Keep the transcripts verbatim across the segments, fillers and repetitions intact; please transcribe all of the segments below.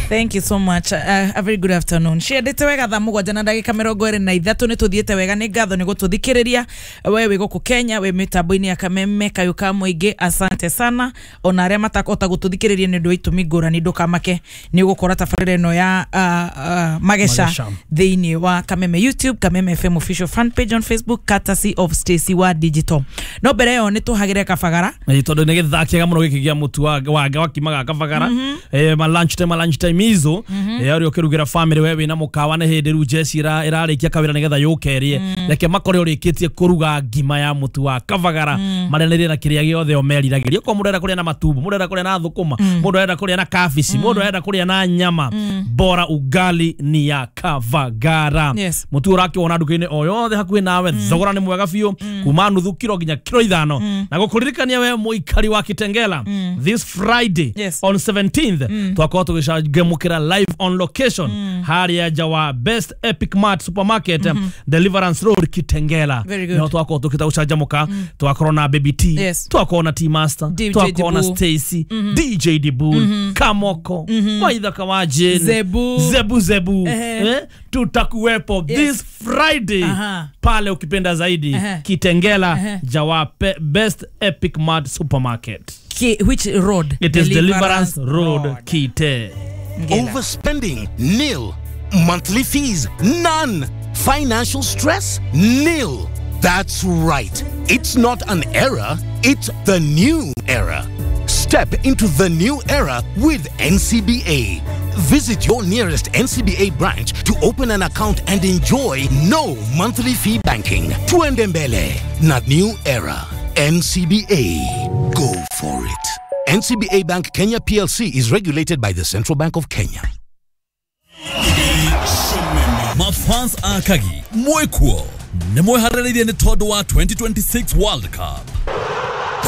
Thank you so much. Uh, a very good afternoon. Ciendete wega thaa mũgwanja na ndagĩka mĩrongo ĩrĩ na ithatũ. Nĩ tũthiĩte wega, nĩ ngatho nĩ gũtũthikĩrĩria. We wĩ gũkũ Kenya, wĩ mĩtambo-inĩ ya Kameme Kayũ ka Mũingĩ, asante sana. Ona arĩa matakũhota gũtũthikĩrĩria nĩ ũndũ wa itũmi ngũrani, ndũkamake, nĩ ũgũkora tabarĩra ĩno ya uh, uh, Mageca Mageca. thĩinĩ wa Kameme YouTube, Kameme F M official fan page on Facebook, courtesy of Stacy wa Digital. No mbere ĩyo nĩ tũhagĩre kabagara. Ĩ, tondũ nĩ gĩthaa kĩega mũno gĩkĩ gĩa mũtu wa wa wakimaga kabagara, eh, ma lunch time, ma lunch time izo, eh, ũrĩa ũkĩrugĩra family, we wĩna mũkawa, nĩ hĩndĩ rĩu jeci ĩra- ĩrarĩkia kawĩra nĩgetha yũke ĩrĩe. Reke makore ũrĩkĩtie kũruga ngima ya mũtu wa kabagara, marĩanĩrie na kĩrĩa gĩothe o meriragĩria. Okorwo mũndũ arenda kũrĩa na matumbo, mũndũ arenda kũrĩa na thũkũma, mũndũ arenda kũrĩa na kabici, mũndũ arenda kũrĩa na nyama, bora ugali ni ya kabagara. Yes. Mũtu ũrakĩwona nduka-inĩ o yothe hakuhĩ nawe. Thogora nĩ mwega biũ, kuma nuthu kiro nginya kiro ithano. Na gũkũririkania we mũikari wa Kitengela, this Friday Yes. on seventeenth twakorwo tũgĩcanjamũkĩra live on location harĩa nja wa Best Epic Mart Supermarket, Deliverance Road, Kitengela. Very good. Nĩho twakorwo tũkĩta gũcanjamũka. Twakorwo na Baby T, Yes. twakorwo na T Master, D J twakorwo na Dibu. Stacy, D J Dibul, Kamoko Waithaka wa Jane, Zebu. Zebu Zebu. Ehe. Eh, tutakuwepo Yes. this Friday Aha. pale, ukipenda zaidi, Ehe. Kitengela, Ehe. Jawa Pe- Best Epic Mart Supermarket. Ki, which road? It is Deliverance Road, Kite. Ngela. Overspending? Nil. Monthly fees? None. Financial stress? Nil. That's right. It's not an era, it's the new era. Step into the new era with N C B A. Visit your nearest N C B A branch to open an account and enjoy no monthly fee banking. Tuende mbele na new era. N C B A. Go for it. N C B A Bank Kenya P L C is regulated by the Central Bank of Kenya. Mafans a Kagi mwĩkuo nĩ mwĩharĩrĩirie nĩ tondũ wa twenty twenty-six World Cup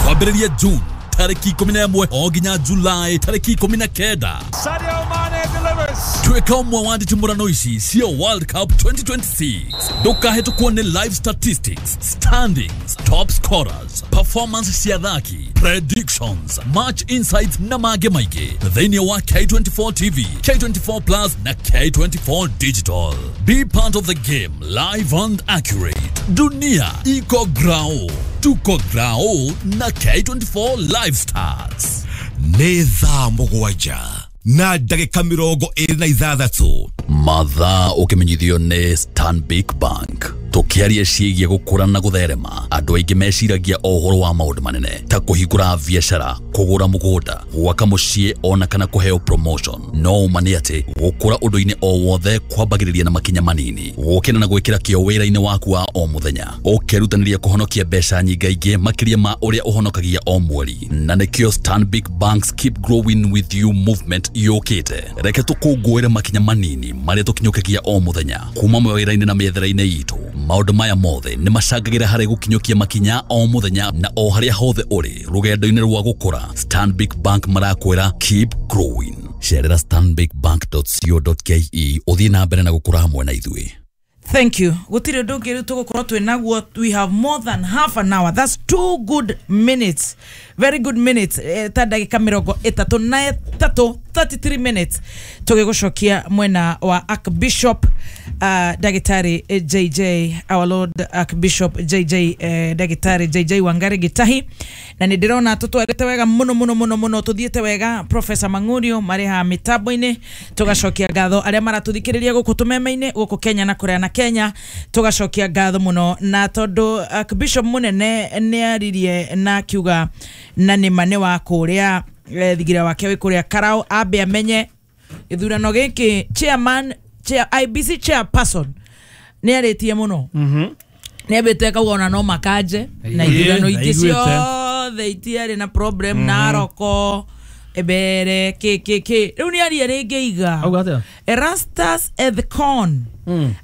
kwambĩrĩria June tarĩki ikũmi na ĩmwe o nginya Julai tarĩki ikũmi na kenda. Sadio Mane delivers. Tuĩka ũmwe wa nditimũrano ici cia World Cup twenty twenty-six. Ndũkahĩtũkwo nĩ live statistics, standings, top scorers, performance cia athaki, predictions, match insights na mangĩ maingĩ thĩinĩ wa K twenty-four T V, K twenty-four Plus na K twenty-four Digital. Be part of the game, live and accurate. Dunia iko grao, tuko grao na K twenty-four Live Stars. Nĩ thaa mũgwanja na ndagĩka mĩrongo ĩrĩ na ithathatũ. Mathaa ũkĩmenyithio nĩ Stanbic Bank. Tũkĩaria ciĩgiĩ gũkũra na gũtherema, andũ aingĩ meciragia o ũhoro wa maũndũ manene ta kũhingũra biacara, kũgũra mũgũnda, gwaka mũciĩ ona kana kũheo promotion. No ũma nĩ atĩ gũkũra ũndũ-inĩ o wothe kwambagĩrĩria na makinya manini, gũkĩra na gwĩkĩra kĩo wĩra-inĩ waku wa o mũthenya, ũkerutanĩria kũhonokia mbeca nyingaingĩ makĩria ma ũrĩa ũhonokagia o mweri. Na nĩkĩo Stanbic Bank's Keep Growing With You movement yũkĩte. Reke tũkũngũĩre makinya manini marĩa tũkinyũkagia o mũthenya kuma mawĩra-inĩ na mĩethere-inĩ itũ. Maũndũ maya mothe nĩ macangagĩra harĩ gũkinyũkia makinya o mũthenya na o harĩa hothe ũrĩ rũgendo-inĩ rwa gũkũra. Stanbic Bank marakwĩra, "Keep growing." Cerera stanbicbank dot co dot ke ũthiĩ na mbere na gũkũra hamwe na ithuĩ. Thank you. Gũtirĩ ũndũ ũngĩ rĩu tũgũkorwo twĩ naguo. We have more than half an hour. That's two good minutes, very good minutes, eh, ta ndagĩka mĩrongo ĩtatũ na ĩtatũ, thirty-three minutes, tũgĩgũcokia mwena wa Archbishop uh, Ndagĩtarĩ eh, J J, our Lord Archbishop J J, eh, Ndagĩtarĩ J J Wangari Gitahi. Na nĩ ndĩrona tũtwarĩte wega mũno mũno mũno mũno, tũthiĩte wega. Professor Mang'urio marĩ haha mĩtambo-inĩ. Tũgacokia ngatho arĩa maratũthikĩrĩria gũkũ tũmeme-inĩ, gũkũ Kenya na kũrĩa na Kenya, tũgacokia ngatho mũno. Na tondũ Archbishop mũnene nĩ aririe na akiuga na nĩma nĩ wa kũrĩa eh, thigira wake wĩ kũrĩa Karau, ambe amenye gĩthurano gĩkĩ. Chairman chair, I E B C chairperson nĩ arĩtie mũno, nĩ ambĩte akauga ona no makanje na Ĩĩ, ithurano ingĩ ndaiguĩte. Ciothe itiarĩ na problem, Naroko ebere kä kä kä rĩu nĩ aria rĩngĩ iga. Auga atĩa? Erastus Ethekon,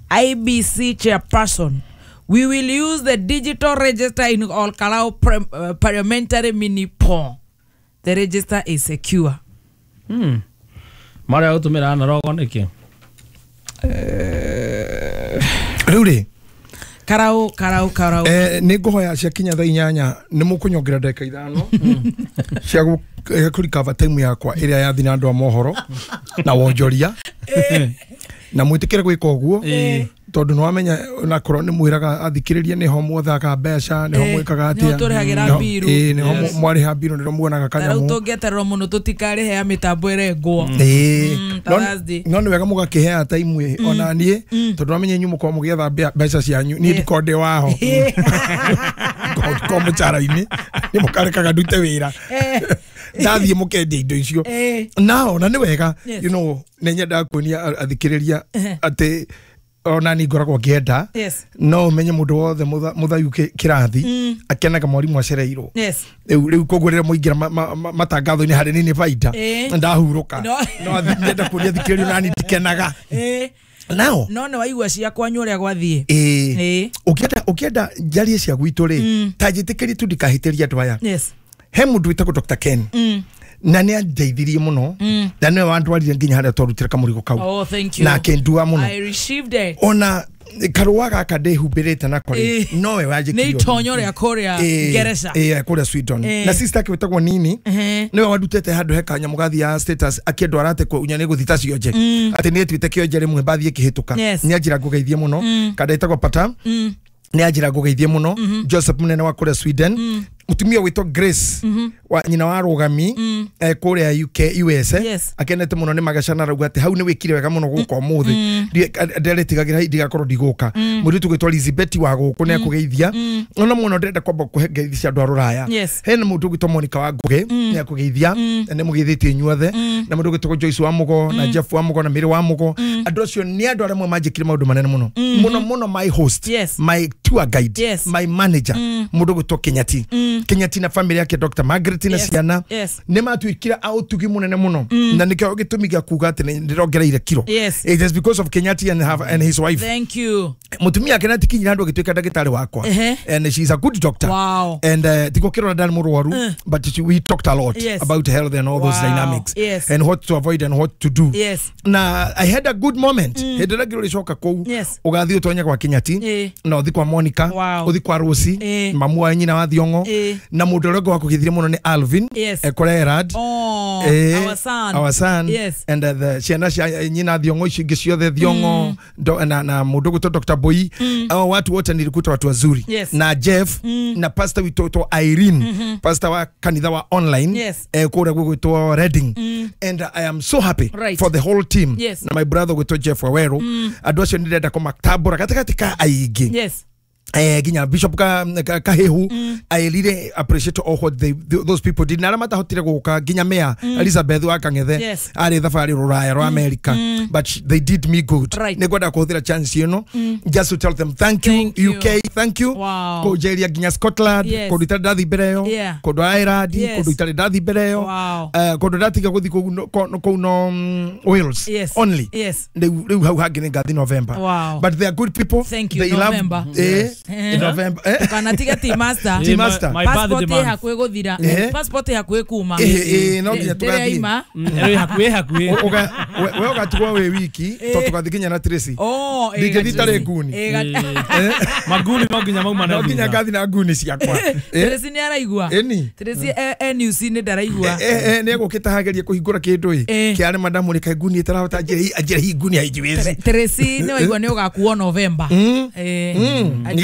I E B C chairperson: "We will use the digital register in Ol Kalou pre- uh, parliamentary mini poll. The register is secure." Marĩa gũtũmĩra Naroko nĩkĩ? Rĩu rĩ Karau karau karau. Eh nĩ ngũhoya cia kinya thaa inyanya nĩ mũkũnyongerera ndagĩka ithano cia kũrikava time yakwa ĩrĩa yathi na andũ a mohoro na wonjoria na mwĩtĩkĩre gwĩka ũguo tondũ nĩwamenya onakorwo nĩ mwĩraga athikĩrĩria nĩho mwothaga mbeca nĩho mwĩkaga atĩa nĩho tũrĩhagĩra mbiru nĩho mwarĩha mbiru nĩho muonaga kanyamũ rĩu tũngĩetererwo mũno tũtikarĩhea mĩtambo ĩrengwo no nĩ wega mũgakĩhea time ona niĩ tondũ nĩwamenya inyuĩ mũkorwo mũgĩetha mbeca cianyu niĩ ndikorwo ndĩ waho ngorwo mũcara-inĩ nĩ mũkarekaga ndute wĩra ndathiĩ mũkendia indo icio nao na nĩ wega you know nĩ nyendaga kuonia athikĩrĩria atĩ ona ni ngoragwo ngĩenda no menye mũndũ wothe mũthayu kĩrathi akenaga mwarimũ acereirwo rĩu rĩu koguo rĩrĩa mũingĩra matangatho-inĩ harĩ niĩ nĩ baida ndahurũka no nyenda kuonia thikĩrĩria nani ndikenaga nao no nĩ waigua cia kwanyu ũrĩa gwathiĩ ĩĩ ũkĩenda ũkĩenda njarie cia gwitũ rĩ ta njĩtĩkĩrie tu ndikahĩtĩrie andũ aya he mũndũ wĩtagwo Doctor Ken na nĩ andeithirie mũno na nĩwe wandwarire nginya harĩa twarutire kamũrigo kau oh, thank you. Na akĩndua mũno I received it. Ona karũa gaka ndĩhumbĩrĩte nako rĩ nowe wanjĩkire nĩ itonyo rĩa kũrĩa Ngereca ĩĩ kũrĩa Sweden na sister ake wĩtagwo Nini nĩwe wandutĩte handũ he kanyamũ gathiaga status akĩndwara atĩ kũunya nĩ gũthiĩ ta cionje atĩ nĩ ĩtuĩte kĩonje rĩmwe mbathiĩ ĩkĩhĩtũka nĩ anjĩra ngũgeithie mũno kanda ĩtagwo Pata nĩ anjĩra ngũgeithie mũno Joseph mũnene wa kũrĩa Sweden mutumia witwo Grace wa nyina wa rugami eh kuria U K U S akenete muno ni magacana rauga ati hau ni wikire wega muno guka umuthi nderetigagira ndigakorwo ndiguka muritu gwitwo Elizabeth wa guku ni akugeithia ona muno ndirenda kwamba kuhe ngeithi cia andu a ruraya hena mundu gwitwo Monica wa Ngugi ni akugeithia ni mugeithitie inyuothe na mundu gwitwo Joyce wa Mugo na Jeff wa Mugo na Mary wa Mugo andu acio ni andu aria manjikire maundu manene muno muno muno my host my tour guide my manager mundu gwitwo Kenyati Kenyati na family yake Doctor Margaret na ciana ni matuikira autugi munene muno na nikio gitumi gia kuga ati ndirongereire kilo. It is because of Kenyati and have and his wife. Thank you. Mutumia Kenyati kinyira andu agituika ndagitari wakwa and she is a good doctor. Wow. And uh, tiko kirora ndari murwaru but she, we talked a lot yes. about health and all wow. those dynamics yes. and what to avoid and what to do. Yes. Na I had a good moment. Hindi mm. ngirora kuu ugathii utonya kwa Kenyati na uthi kwa Monica wow. uthi kwa Rosie mamu wa nyina wa Thiongo na mundu uria wa kugithire muno ni Alvin yes. ekore Erad oh, eh, our son our son yes. and uh, the ciana cia nyina Thiongo ici ingi ciothe Thiongo mm. do, na, na mundu gwitwo Doctor Boy mm. hao watu wote nilikuta watu wazuri yes. na Jeff mm. na pastor witwo Irene mm -hmm. pastor wa kanitha wa online yes. eh, kuria gwitwo Reading mm. and uh, I am so happy right. for the whole team yes. na my brother gwitwo Jeff Waweru mm. andu acio ndirenda kũmatambũra gatagatĩ ka aingĩ yes. Eh, ginya Bishop ka Kahehu mm. I really appreciate all what they, those people did. Na matahotire guka ginya mea mm. Elizabeth wa Kangethe yes. ari thabari ruraya rwa mm. America mm. but they did me good. Right. Nĩngwenda kũhũthĩra chance ĩno mm. just to tell them thank you, thank you. U K thank you wow. kũnjeria ginya Scotland yes. kũndũ itarĩ ndathi mbere ĩyo yeah. kũndũ Ireland yes. kũndũ itarĩ ndathi mbere ĩyo wow. uh, kũndũ ndatiga gũthiĩ kũu no Wales yes. only yes. rĩu rĩu hau hangĩ nĩ ngathi November wow. but they are good people thank you they November love, eh, yes. In November eh kana tiga ti master ti master my passport birthday hakuĩ guthira passport hakuĩ kuma eh eh no nginya tugathi eh hakuĩ hakuĩ uga we ugatigwo wi wiki to tugathi nginya na Tracy oh ndingĩthi tarĩ nguni maguni no nginya mauma no nginya ngathi na nguni ciakwa Tracy nĩ araigua eni Tracy N U C nĩ ndaraigua eh eh nĩ egũkĩte hagerie kũhingũra kĩndũ ĩ kĩarĩ madamu rĩ nguni ĩtarahota njĩra njĩra hii nguni haijiwezi Tracy nĩ waigua nĩ ũgakuo November eh nĩ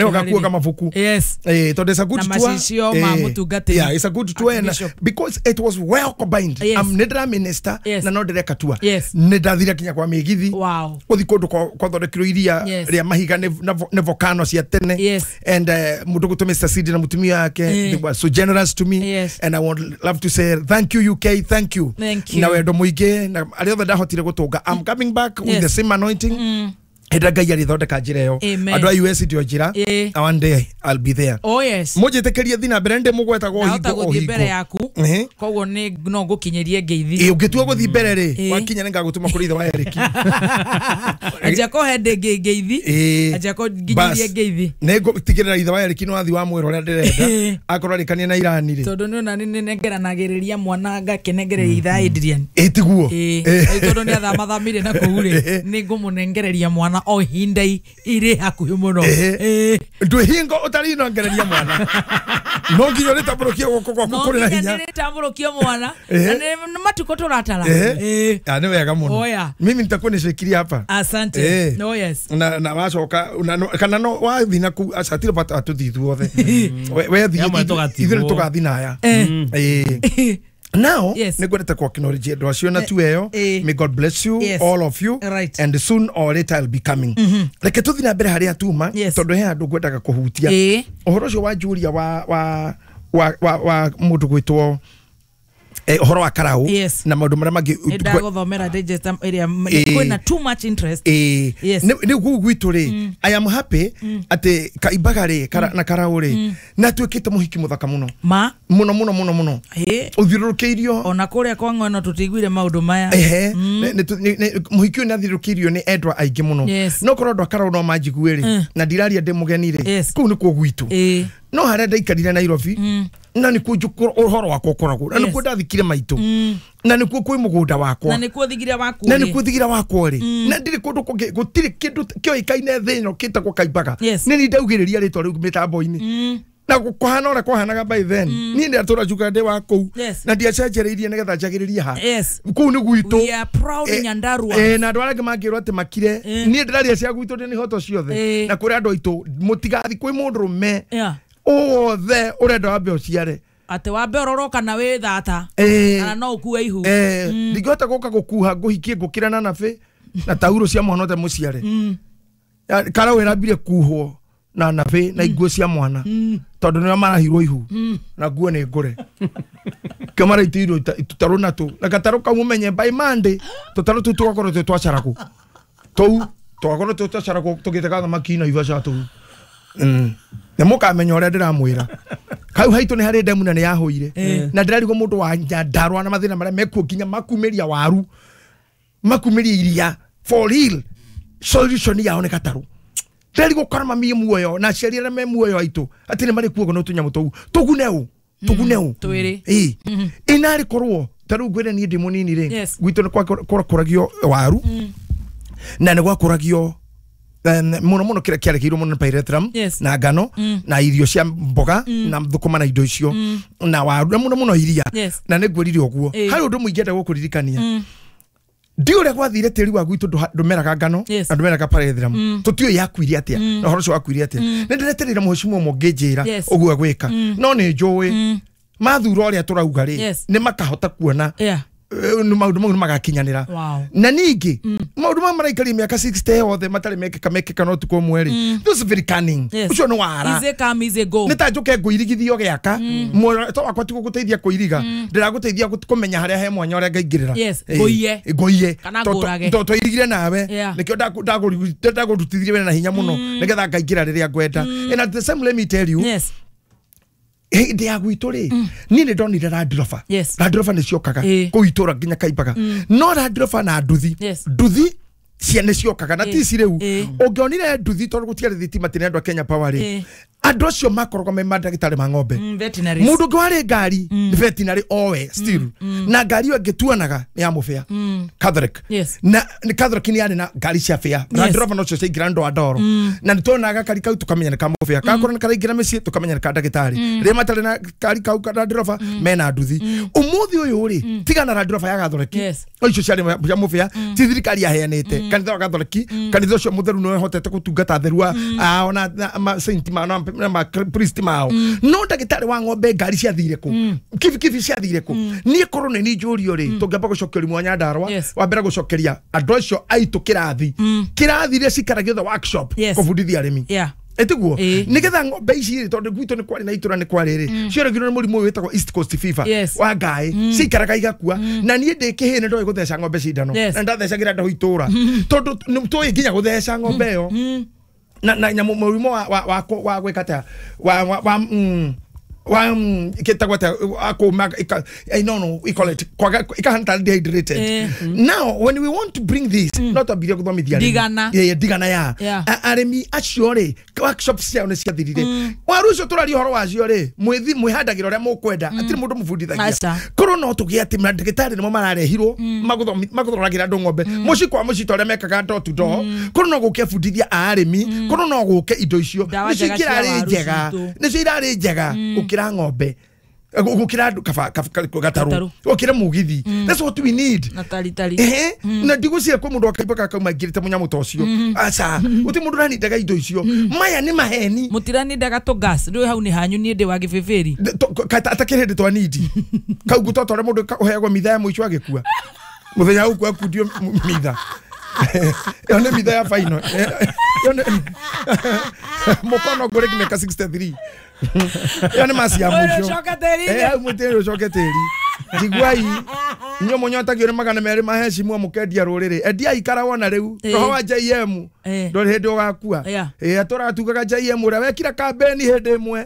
ũgakuaga mabuku yes eh to there's a good na tour macicio ma mũtungatĩri yeah it's a good tour and because it was well combined yes. I'm nĩndĩra minister yes. na no ndĩreka tour yes. nĩndathire kinya kwa mĩgithi wow gũthi kũndũ kwathondekirwo iria yes. rĩa mahiga nĩ volcano cia tene yes. and uh, mũndũ gwĩtwo Mister Sidi na mũtumia wake eh. they were so generous to me yes. and I would love to say thank you U K thank you, thank you. na wendo mũingĩ na arĩa othe ndahotire gũtũnga I'm coming back yes. with the same anointing mm. Hĩndĩ Ngai arĩthondeka njĩra ĩyo andũ a U S ndio njĩra one day I'll be there oh yes mũnjĩtĩkĩrie thi na mbere ndĩ mũgwetagwo o hingo o gũthiĩ hingo mbere yaku koguo nĩ no ngũkinyĩrie ngeithi ĩ ũngĩtua gũthiĩ mbere rĩ wakinya nĩngagũtũma kũrĩ ithe wa Eric anjia kũhe ndĩ ngeithi anjia kũnginyĩrie ngeithi nĩngũtigĩrĩra ithe wa Eric nĩ wathi wa mwĩra ũrĩa ndĩrenda akorwo arĩkania na Irani rĩ tondũ nĩ ona nĩ nĩnengeranagĩrĩria mwana ngakĩnengereria ithe Adrian ĩ tiguo ĩ tondũ nĩ athamathamire na kũu rĩ nĩngũmũnengereria mwana o ihinda irĩ hakuhĩ mũno. Eh. Ndwĩ hingo ũtarinongereria mwana no nginya ũrĩtambũrũkie guoko gwaku No kũrĩ na nginya hinya. nĩrĩtambũrũkio mwana Eh. na nĩ matukũ tũratara. Eh. Eh. Ah, nĩ wega mũno. Oya. Mimi nitakuwa nishikilia hapa. Asante. Eh. No, yes. na na wacoka na no- kana no wathi na kuu aca tirĩ bata tũthiĩ ithuothe. We- we thiĩ Amwe ithuĩ tũgatigwo. nĩ tũgathi naya. Eh. Eh. Now Yes. nĩ ngwendete ku acknowledge andũ acio na tu ĩyo. Eh. May God bless you, Yes. all of you. Right. And soon or later I'll be coming. Reke tũthiĩ na mbere harĩa tuma Yes. tondũ he handũ ngwendaga kũhutia Eh. ũhoro ũcio wa Julia wa wa wa wa, wa mũndũ gwĩtwo eh, ũhoro wa karau Yes. na maũndũ marĩa mangĩ. Nĩ ndagũthomera digest ĩrĩa Eh. kwĩna too much interest. Ĩĩ. Yes. nĩ nĩ kũu gwitũ rĩ, I am happy atĩ kaimbaga rĩ kara, na karau rĩ na atuĩkĩte mũhiki mũthaka mũno Ma mũno mũno mũno mũno ĩ ũthiũrũrũkĩirio. Ona kũrĩa kwa ng'weno tũtiguire maũndũ maya. Ehe, nĩ- nĩ- nĩ- nĩ- mũhiki ũyũ nĩ athiũrũrũkĩirio nĩ endwa aingĩ mũno. Yes. No korwo andũ a karau no manjigue rĩ Mm. na ndiraria ndĩ mũgeni rĩ, Yes. kũu nĩkuo gwitũ. Ĩ. No harĩa ndaikarire Nairobi na nĩkuo njũkũ- ũhoro wakwa ũkoragwo na Yes. nĩkuo ndathikire maitũ na nĩkuo kwĩ mũgũnda wakwa na nĩkuo thigira waku na rĩ. nĩkuo thigira wakwa rĩ, na ndirĩ kũndũ kũngĩ, gũtirĩ kĩndũ kĩoĩkaine thĩ ĩno kĩtagwo kaimbaga. Yes. Nĩ niĩ ndaugĩrĩria rĩtwa rĩu mĩtambo-inĩ na kũhana ũrĩa kwahanaga by then niĩ ndatũra njugaga ndĩ wa kũu Yes. na ndiacenjereirie nĩgetha njagĩrĩrie ha. Yes. Kũu nĩ gwitũ. We are proud Eh, Nyandarua. eh, na andũ arĩa angĩ mangĩrwo atĩ makire, Eh. niĩ ndĩraria cia gwitũ ndĩ nĩ hoto ciothe Eh. na kũrĩ andũ aitũ mũtigathi kwĩ mũndũrũme Yeah. wothe ũrenda wambe ũciare. Atĩ wambe ũrorwo kana wĩ thata Eh. kana no ũkue ihu. Eh, ndingĩhota gũka gũkuha ngũhikie ngũkĩra na nabĩ na tauro cia mwana ũte mũciare. Ya, karau ĩrambire kuhwo na nabĩ na iguo cia mwana tondũ nĩo marahirwo ihu na nguo nĩ ngũre kĩo maraitĩirwo ita- tũtarũ natũ na gatarũ kau mũmenye by Monday tũtarũ tũu tũgakorwo twĩ twacaragwo tũu tũgakorwo twĩ twacaragwo tũgĩtega thamaki na ibaca tũu. Mm. Nĩ mũkamenya ũrĩa ndĩramwĩra kau haitũ nĩ harĩ ndemu na nĩ yahũire na ndĩrarigwo mũndũ wa Nyandarua na mathĩna marĩa mekuo nginya makumĩria waru makumĩria iria for real solution yao nĩ gatarũ. Ndĩrarigwo kora mami muoyo na aciari arĩa me muoyo aitũ atĩ nĩ marĩ kuogo no tũnyamũ tũu tũgune ũ tũgune ũ. Twĩrĩ. Ĩ ĩnarĩ korwo ta rĩu ngwĩre niĩ ndĩ mũnini rĩ, Yes. gwitũ nĩ gwakũragio waru na nĩ gwakũragio em, mũno mũno kĩrĩa kĩarekeirwo mũno nĩ pyrethrum Yes. na ngano na irio cia mboga na thũkũma na indo icio na waru na mũno mũno iria. Yes. Na nĩ ngwĩrire ũguo Ĩ. harĩ ũndũ mũingĩ enda gũkũririkania ndi ũrĩa gwathire tĩri wa gwitũ ndũha- ndũmeraga ngano Yes. na ndũmeraga pyrethrum tũtiũĩ yakuire atĩa na ũhoro ũcio wakuire atĩa nĩ ndĩretereire mũhecimiwa ũmwe ũngĩnjĩra Yes. ũguo gwĩka no nĩ njũĩ mathura ũrĩa tũrauga rĩ Yes. nĩ makahota kuona Yeah. eh, nĩ maũndũ mau nĩ magakinyanĩra. Wow. Na ningĩ maũndũ maya maraikaria mĩaka sixty yothe matarĩ mekĩka mekĩka no tukũ ũmwe rĩ, this is very cunning. Yes. Ũcio nĩ wara. Easy come, easy go. Nĩ ta njũke ngũirigithio gĩaka muoroto wakwa ti gũgũteithia kũiriga ndĩragũteithia gũ- kũmenya harĩa he mwanya ũrĩa ngaingĩrĩra. Yes, Ĩ, ngũiye. ngũiye. Kana To- to- ngũrage. to- twairigire nawe Yeah. nĩkĩo ndaku- ndagũru- ndagũrutithirie wĩra na hinya mũno nĩgetha ngaingĩra rĩrĩa ngwenda. And at the same, let me tell you, Yes. hĩndĩ ya gwitũ rĩ niĩ nĩ ndonire Land Rover. Yes. Land Rover nĩ ciokaga Ĩ. kũu itũra nginya kaimbaga no Land Rover na nduthi. Yes. Nduthi cia nĩ ciokaga na Ĩ. ti ici rĩu Ĩ. ũngĩonire nduthi tondũ gũtiarĩ thitima tene andũ a Kenya Power rĩ Ĩ. andũ acio makoragwo me mandagĩtarĩ ma ng'ombe. Mm, veterinaries. Mũndũ ũngĩ warĩ ngari nĩ veterinary owe still na ngari ĩyo ĩngĩ tuonaga nĩ ya mũbĩa Catholic. Yes. Na nĩ Catholic nĩ yarĩ na ngari cia bĩa Land Rover nocio ciaingĩra ndwa ndoro na nĩ tuonaga kari kau tũkamenya nĩ ka mũbĩa gakorwo nĩ karaingĩra mĩciĩ tũkamenya nĩ ka ndagĩtarĩ rĩrĩa matarĩ na kari kau ka Land Rover mena nduthi ũmũthĩ ũyũ rĩ tigana Land Rover ya Gatholic. Yes. O icio ciarĩ cia mũbĩa ti thirikari yaheanĩte kanitha wa Gatholic kanitha ũcio mũtheru nĩ wehotete gũtungata atheru a- ao na na ma saint mao na na ma priest mao no ndagĩtarĩ wa ng'ombe ngari ciathire kũ kibikibi ciathire kũ niĩ korwo nĩ niĩ njũrio rĩ tũngĩamba gũcokeria mwanya ndarwa Yes. wambere gũcokeria andũ acio aitũ kĩrathi kĩrathi iria cikaragio the workshop Yes. kũbundithia arĩmi. Yeah. Ĩtiguo Ĩ. nĩgetha ng'ombe ici rĩ tondũ gwitũ nĩ kwarĩ na itũra nĩ kwarĩ rĩ cioragirwo nĩ mũrimũ ũyũ wĩtagwo East Coast Fever Yes. wa ngaĩ ciikaraga igakua na niĩ ndĩ kĩhĩ nĩ ndoĩ gũtheca ng'ombe cindano Yes. na ndathecagĩra ndũ itũra tondũ nĩ tũĩ nginya gũtheca ng'ombe ĩyo na na nyamũ mũrimũ wa wa wa wa gwĩka atĩa wa wa wa mm, Wa kitagwa ta ako no no we call it kwaga ikahanta dehydrated. Eh. Now when we want to bring this mm. not abiria kuthomithia Ndigana. Yeah, ndigana ya Yeah. Aremi acio ri workshops ciao ni ciathirire. Waru ucio turaria horo wacio ri mwithi mwihandagira uria mukwenda atiri mundu mubundithagia. Aca. Korwo no tugie ati mandagitari nimo mararehirwo maguthomi maguthoragĩra andũ ng'ombe mũciĩ kwa mũciĩ ta ũrĩa mekaga door to door. Korwo no gũke bundithia arĩmi, korwo no gũke indo icio Ndawa nicio njega cia irarĩ waru njega citũ. nicio irarĩ njega gũkĩra ng'ombe, gũkĩra andũ kaba gatarũ, Gatarũ. gũkĩra mũgithi. That's what we need. Na taritari. Ehe, na ndigwĩciria kwĩ mũndũ akaimba gakauma aingĩrĩte mũnyamũ ta ũcio. Aca, gũtirĩ mũndũ ũranindaga indo icio. Maya nĩ maheni. Mũtiranindaga tũ gas rĩu hau nĩ hanyu niĩ ndĩ wa gĩbĩbĩri. Atakĩrĩ hĩndĩ twanindi kau ngũtota ũrĩa mũndũ ũheagwo mitha ya mũico agĩkua mũthenya ũkua akundio mitha ĩyo nĩ mitha ya final. Ĩyo nĩ mũkono ngũrĩ mĩaka sixty-three. Ĩyo nĩ maci ya mũico. Ũcoke tĩri-inĩ. Eh, hau mũtĩrĩ ũcoke tĩri. Njiguai inyuĩ mũnyotagio nĩ magana merĩ ma hecimu mũkendia rũrĩrĩ. Endiai ikara wona rĩu Eh. roho wa J M Eh. ndũrĩ hĩndĩ ũgakua. Yeah. Ĩ atũratugaga J M ũrĩa wekira kambeni hĩndĩ ĩmwe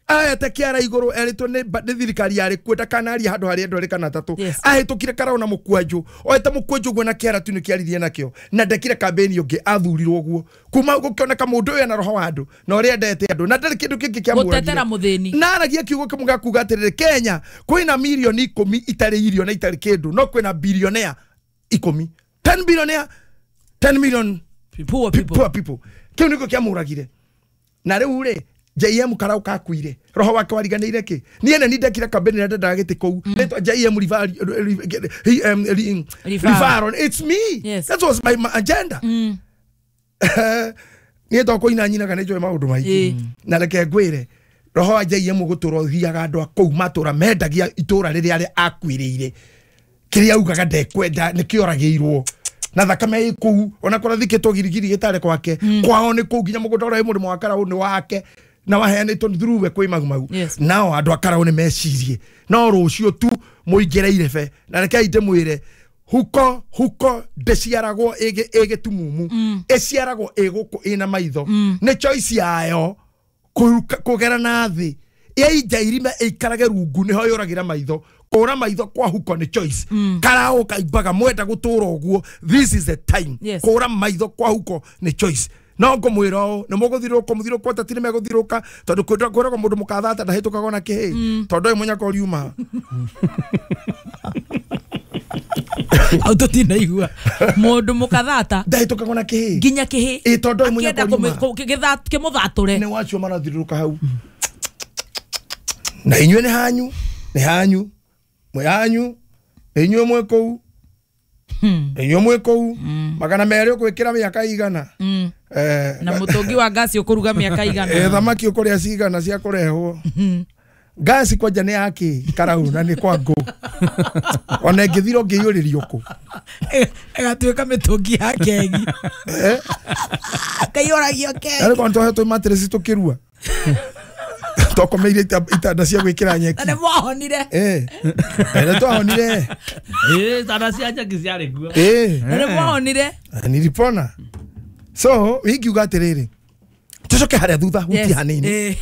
aete kĩara igũrũ erĩtwo nĩ ba- nĩ thirikari yarĩ kuo ndakanaria handũ harĩa andũ erĩ kana atatũ. Yes. Ahĩtũkire karaũ na mũkwanjũ oete mũkwanjũ ũguo na kĩara tu nĩkĩaririe nakĩo na ndekire kambeni ũngĩ athurirwo ũguo kuma hau gũkĩoneka mũndũ ũyũ ena roho wa andũ na ũrĩa endete andũ na ndarĩ kĩndũ kĩngĩ kĩamũragire. Gũtetera mũthĩni. Na aragia kiugo kĩmwe gĩa kuga atĩrĩrĩ, Kenya kwĩna mirioni ikũmi itarĩ irio na itarĩ kĩndũ, no kwĩna bilionea ikũmi, ten billionaire, ten million Poor people. poor people. Kĩu nĩkĩo kĩamũragire. Na rĩu rĩ J M Karau kakuire roho wake wariganĩire kĩ niĩ nĩ ndekire kambeni na ndendaga gĩtĩ kũu nĩtwa J M Rivaro. It's me. Yes. That was my, my agenda. Niĩ tokũina nyinaga nĩ njũĩ maũndũ maingĩ. Ĩ. Na reke ngwĩre roho wa J M gũtũra ũthiaga andũ a kũu matũra mendagia itũra rĩrĩa arĩa akuĩrĩire kĩrĩa augaga ndekwenda nĩkĩoragĩirwo na thakame ĩ kũu ona kũrĩa thikĩtwo girigiri gĩtarĩ kwake kwao nĩ kũu nginya mũgũnda ũrĩa wĩ mũrĩmo wa Karau nĩ wake na waheanĩtwo nĩ through we kwĩ Mau Mau. Yes. Nao andũ a Karau nĩ mecirie no rũciũ tu mũingĩre irebe na rekei ndĩmwĩre huko huko ndĩciaragwo ĩgĩ ĩgĩtumumu ĩciaragwo ĩ gũkũ ĩna maitho nĩ choice yayo kũruka- kũgera na thĩ yainja irima ĩikarage rungu nĩho yũragĩra maitho kũra maitho kwa huko nĩ choice. Karau kaimbaga mwenda gũtũra ũguo, this is the time. Yes. Kũra maitho kwa huko nĩ choice. No ngũmwĩra ũũ nĩ mũgũthirũka mũthirũka ateti nĩ megũthirũka tondũ kwĩragwo kwĩragwo mũndũ mũkathata ndahĩtũkaga ona kĩhĩ tondũ ũyũ mũnyaka ũriuma. Hau tũtinaigua mũndũ mũkathata ndahĩtũkaga ona kĩhĩ nginya kĩhĩ Ĩ, tondũ ũyũ mũnyaka akĩenda ũriuma kĩmũthatũre nĩ wacio marathirũka hau na inyuĩ nĩ hanyu nĩ hanyu mwĩ hanyu nĩ inyuĩ mwĩ kũu inyuĩ mwĩ kũu magana merĩ ũgwĩkĩra mĩaka igana. Eh, na mũtũngi wa ngasi ũkũruga mĩaka eh, igana. Thamaki ũkũrĩa cigana cia kũrehwo ngasi kwanja nĩ yake Karau na nĩ kwa ngũ ona ĩngĩthira ũngĩiyũrĩrio kũ ĩgatuĩka mĩtũngi ya kegi kaiyũragio kegi. Arĩ kwa nĩtwahetwo matireci tũkĩrua twakomeire ita- itanda cia gwĩkĩra nyeki. Na nĩ mwahonire. Eh, eh, nĩ twahonire. Ĩ, tanda cia nyeki ciarĩ kuo. Eh. Na nĩ mwahonire. Nilipona. So ingiuga atĩrĩrĩ tũcoke harĩa thutha hutie Yes. hanini. Eh.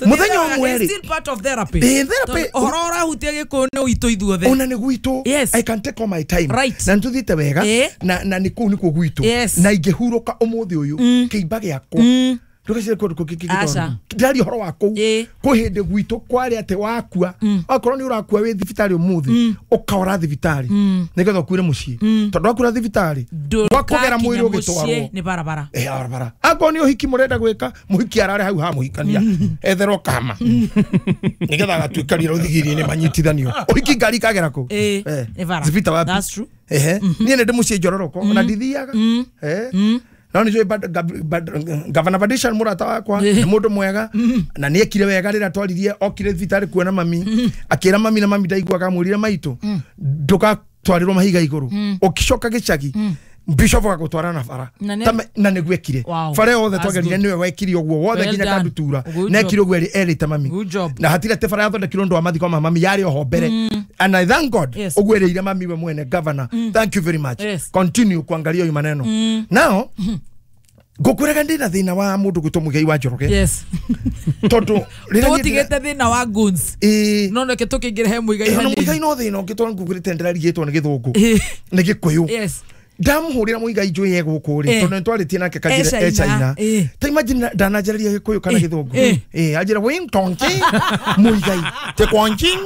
Mũthenya ũmwe rĩ It's still part of therapy. Ĩ, therapy. Tondũ ũhoro ũrahutia gĩkũyũ nĩ witũ ithuothe. Ona nĩ gwitũ. Yes. I can take all my time. Right. Na nĩtũthiĩte wega Ĩ. na na nĩ kũu nĩkuo gwitũ. Yes. Na ingĩhurũka ũmũthĩ ũyũ kĩimba gĩakwa ndũgecire kũndũ kũngĩ kĩngĩ Aca. ndĩraria ũhoro wa kũu Ĩ. kwĩ hĩndĩ gwitũ kwarĩ atĩ wakua okorwo nĩ ũrakua wĩ thibitarĩ ũmũthĩ ũkaora thibitarĩ nĩgetha ũkuire mũciĩ tondũ wakura thibitarĩ wakũgera Ndũgakinya mwĩrĩ mũciĩ ũgĩtwarwo nĩ barabara. Eh, barabara akorwo nĩ ũhiki mũrenda gwĩka mũhiki arare hau ha mũhikania etherwo kama nĩgetha agatuĩkanĩra rũthigiri-inĩ manyitithanio ũhiki ngari ikagera kũ Ĩ, Eh, nĩ bara. zipita wapi? That's true. Ehe niĩ nĩ ndĩ mũciĩ njororoko ona ndithiaga. Eh. No nĩ njũĩ Gavana Badishan mũrata wakwa nĩ mũndũ mwega na nĩ ekire wega rĩrĩa twaririe okire thibitarĩ kuona mami akĩra mami na mami ndaiguaga amwĩrire maitũ ndũgatwarĩrwo mahiga igũrũ ũkĩcoka gĩcagi Bishop agagũtwara na bara Na nĩ- Ta me- na nĩguo ekire Wow. bara yothe That's twagerire good. nĩwe wekire ũguo wothe Well nginya done. Kandutura Good na job. ekire ũguo erĩte mami Good job. na hatirĩ atĩ bara yathondekirwo ũndũ wa mathiko ma mami yarĩ oho mbere and I thank God Yes. ũguo erĩire mami we mwene governor thank you very much Yes. continue kuangalia hiyo maneno now Ngũkwĩraga ndĩna thĩna wa mũndũ gwĩtwo Muigai wa Njoroge. Yes. Tondũ rĩrĩa niĩ ndĩra- Tũtigĩte thĩna wa goons. Ĩĩ. No reke tũkĩingĩre he Muigai Ĩĩ, ona hanini. Muigai no thĩna ũngĩ tondũ ngũkwĩrĩte ndĩrarigĩtwo nĩ gĩthũngũ. Ĩĩ. Nĩ gĩkũyũ. Yes. Ndamuhũrĩra Muigai njũĩ e gũkũ rĩ Eh. tondũ nĩtwarĩtie nake kanjĩra E e China. China. Eh. Ta imagine ndananjarĩria gĩkũyũ kana Eh. gĩthũngũ. Eh. Ĩĩ, anjĩra wing tonki Muigai te kwanjing.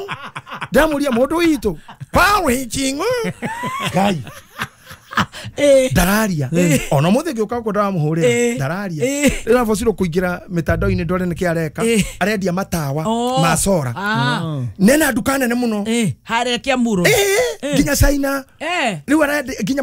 Ndamũria mũndũ witũ kwa wĩching. Ngai. Eh. Ndararia ona mũthĩ ngĩũka gũkũ ndĩramũhũrĩra Eh. ndararia Eh. rĩu abocirwo kũingĩra mĩtandao-inĩ ndore nĩkĩ areka Eh. arendia matawa Oh. ma sora Ah. nena nduka nene mũno Eh. Harĩa Kiambu Road. Eh, nginya China Eh. rĩu arendia nginya